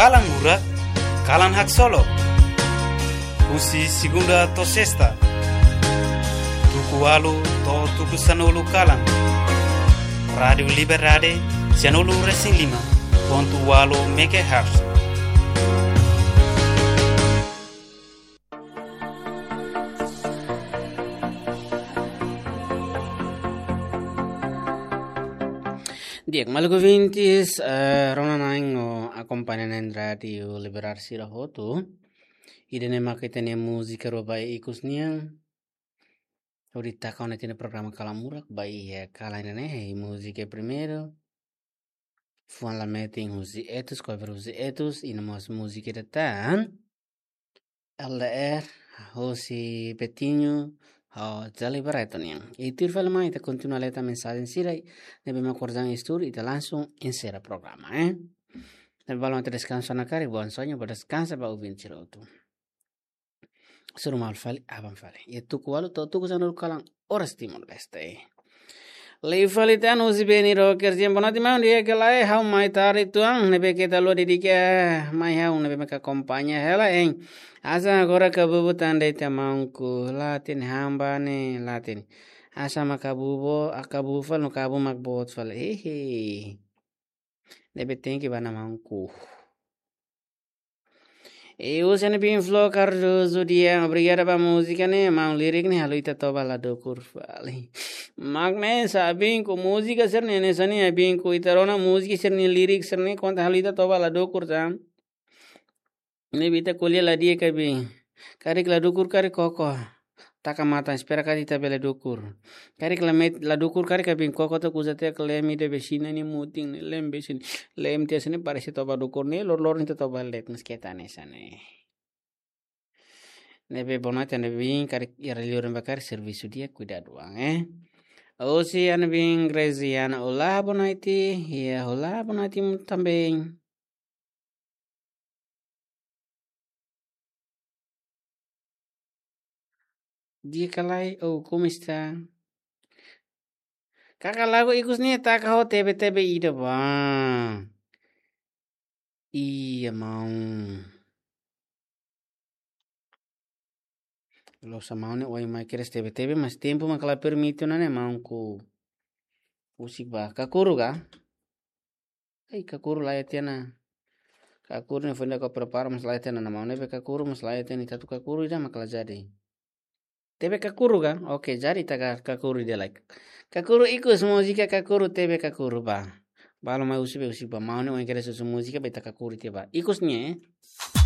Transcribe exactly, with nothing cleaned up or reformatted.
Kalan Murak, kalan haksolok. Husi segunda to'o sesta, tuku ualu to'o tuku sanulu kalan. Rádiu Liberdade, sianulu resin lima pontu ualu megahertz. Di'ak, maluk ouvintes, eh, rona-na'in no akompaña na'in Rádiu Liberdade sira hotu. Ida-ne'e maka ita-nia múzika rua ba ikus nian. Hodi taka ona ita-nia programa Kalan Murak ba iha kalan ida-ne'e, múzika primeiru. Fuan Lametin husi Etus, cover husi Etus, i no mós múzika ida tan. L D R, husi Betinho, ho Charlie Barreto nian. I tuir fali mai, ita kontinua lee tan mensajen sira, ne'ebé mak orsida iha estúdiu, ita langsung enserra programa, eh. Ne'ebé balu mak ita deskansa ona karik, bom sonho, bom descanso ba ouvinte sira hotu. Suru malu fali, aban fali. Iha tuku ualu to'o tuku sanulu kalan, oras Timor-Leste. Liu fali tan husi Beni Roker, siempre boa noite, maun, di'ak ka lae, ha'u mai tarde uitoan, ne'ebé keta lori di'ak, mai ha'u ne'ebé mak akompaña hela, hein. Hanesan agora kabubu tan de'it, maunku, la hatene han ba ne'e, la hatene. Hanesan mak kabubu, a kabubu fali no kabu mak boot fali. Hehe. Ne'ebé tenke ba ona, maunku. E husi Ana Bin Flo Cardoso dehan, obrigada ba múzika ne'e, maun, lirik ne'e halo ita toba la dukur fali. Mak ne'e, sa binku, múzika sira-ne'e hanesan ne'e binku, ita rona múzika sira-nia lirik sira-ne'e konta halo ita toba la dukur sa. Ne'ebé ita ko'alia la di'ak ka bin. Karik la dukur, karik koko. Taka matan, espera katak ita bele dukur. Karik la met-, la dukur, karik ka bin koko, to'o kuza te ka lem ida be sina ni mutin ni lem be sin. Lem te sini parese toba dukur ni, lor lor ni toba let, mas keta hanesan ne'e. Ne'ebé boa noite, Ana Bin, karik iha liur ne'ebá karik servisu di'ak, kuidadu an, eh. Husi Ana Bin Graziana, olá, boa noite. Iha, olá, boa noite também. Di'ak ka lae, oh, como está? Kaka lagu ikus ne'e taka ho T V T V ida ba. Iya, maun. Loos, maun ne'e ohin mai kedas T V T V, mas tempu mak la permite ona ne'e, maunku. Husik ba. Kakuru ka? Ai, kakuru la iha tiha ona. Kakuru ne'e foin de'it ha'u prepara, mas la iha tiha ona, maun, ne'ebé kakuru mas la iha tiha ona, ita atu kakuru ida mak la jadi. T V kakuru ka? Oke, jadi ita ka-, kakuru ida lai. Kakuru ikus, múzika kakuru, T V kakuru ba. Balu mai husu be, husik ba, maun ne'e ohin kedas husu múzika ba, ita kakuru tiha ba. Ikus ne'e, eh?